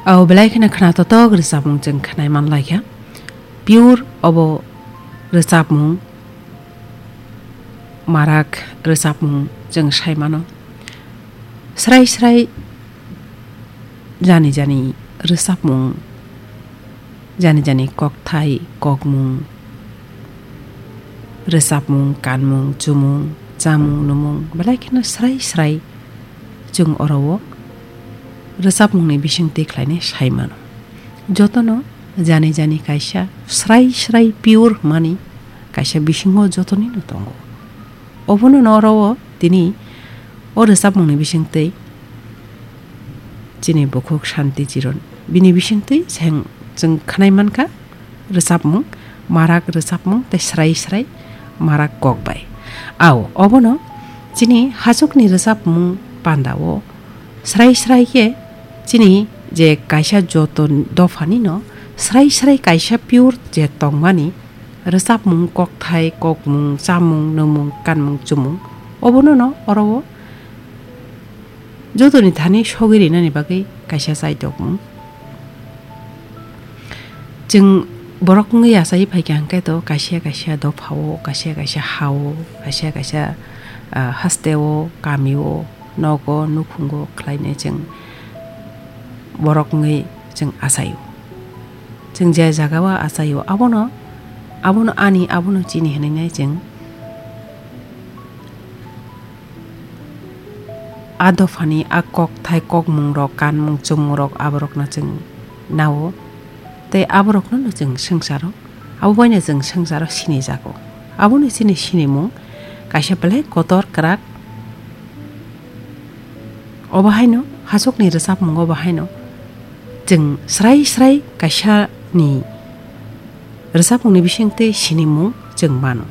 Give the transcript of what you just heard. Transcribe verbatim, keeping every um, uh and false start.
Au belai kheno khna totok rwchapmung chwng khnai man lai kha. Pure obo rwchapmung, marak rwchapmung chwng sai mano. Srai srai jani jani rwchapmung, jani jani kokthai, kokmung, rwchapmung, kanmung, chumung, chamung, numung, belai kheno srai srai chwng oro o rwchapmungni bisingtwi khlainai sai mano. Jotono jani jani kaisa srai srai pure hwnmani kaisa bisingo jotonino tongo. Obono no oro o tini o rwchapmungni bisingtwi chini bukhuk Shanti Chiron. Bini bisingtwi cheng-, chwng khnai mankha rwchapmung, marak rwchapmung tei srai srai marak kok bai. Au, obono chini hachukni rwchapmung pandao srai srai khe chini je kaisa joto dophani no srai srai kaisa pure je tongmani rwchapmung, kokthai, kokmung, chamung, nwngmung, kanmung, chumung, obono no oro o jotoni thani sogwi rinani bagwi kaisa chaitokmung. Chwng borok wngwi achai phaikha hwnkhe to kaisa kaisa dophao, kaisa kaisa hao, kaisa kaisa, ah, hasteo, kamio, nogo, nukhungo khlainai chwng borok wngwi chwng achaio. Chwng je jagao achaio, abono, abono ani, abono chini hwnwi nai chwng a dophani a kokthai, kokmungrok, kanmung, chummungrok, aborokno chwng nao, tei aborokno no chwng swngcharo, abo baino chwng swngcharo sinijago. Abono chini sinimung kaisa belai kotor kwrak. Obo haino hachukni rwchapmungo bo haino chwng srai srai kaisa ni rwchapmungni bisingtwi sinimung chwng mano.